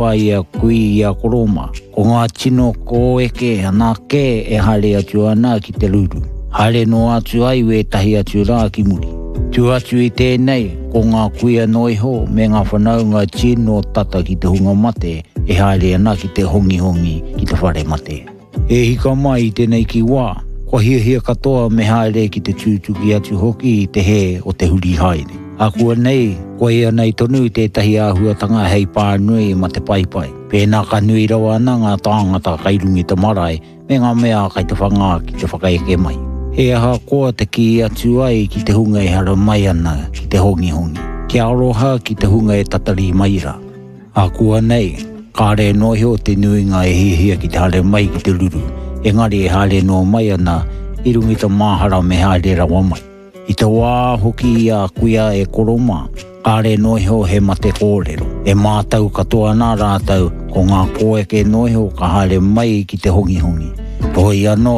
Ai a kui i a koro mā. Ko ngā tino kōeke anake e haere atu ana ki te ruru. Haere noa atu ai wētahi atu rā ki muri. Tū atu i tēnei, ko ngā kuia noa iho me ngā whanaunga tino tata ki te hunga mate e haere ana ki te hongihongi ki te whare mate. E hika mai i tenei ki wā, kua hiahia katoa me haere ki te tūtuki atu hoki i te hē o te huri haere. Akuanei, koia nei tonu tētahi āhuatanga hei pānui ma te paepae. Pēnā ka nui rawa ana ngā tāngata kai runga i te marae me ngā mea kai te whangā ki te whakaeke mai. He aha koa te kī atu ai ki te hunga e haramai ana ki te hongihongi? Kia aroha ki te hunga e tatari mai rā. Ākuanei, kāre noa iho te nuinga e hiahia ki te haere mai ki te ruru, engari e haere noa mai ana i runga i te māhara me haere rawa mai. I te wā hoki i a kuia e koro mā, kāre noa iho he mate kōrero. E mātau katoa ana rātou ko ngā kōeke noa iho ka haere mai ki te hongihongi. Heoi anō,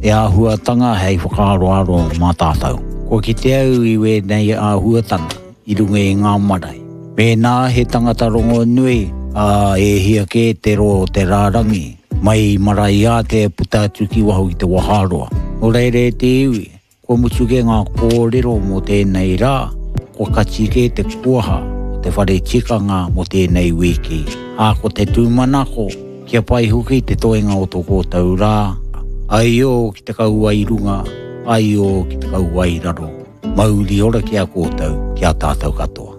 he āhuatanga hei whakaaroaro mā tātou. Kua kite au i wēnei āhuatanga. i runga i ngā marae. Mēnā he tangata rongonui, ā, e hia kē te roa o te rārangi, mai i Maraeātea puta atu ki waho i te waharoa. Nō reira e te iwi, kua mutu kē ngā kōrero mō tēnei rā, kua kati kē te kuaha o te whare tikanga mō tēnei wīki, ā, ko te tūmanako, kia pai hoki te toenga o tō kōtou rā, aio ki te kauae runga, aio ki te kauae raro. Mauri ora ki a koutou, ki a tātou katoa.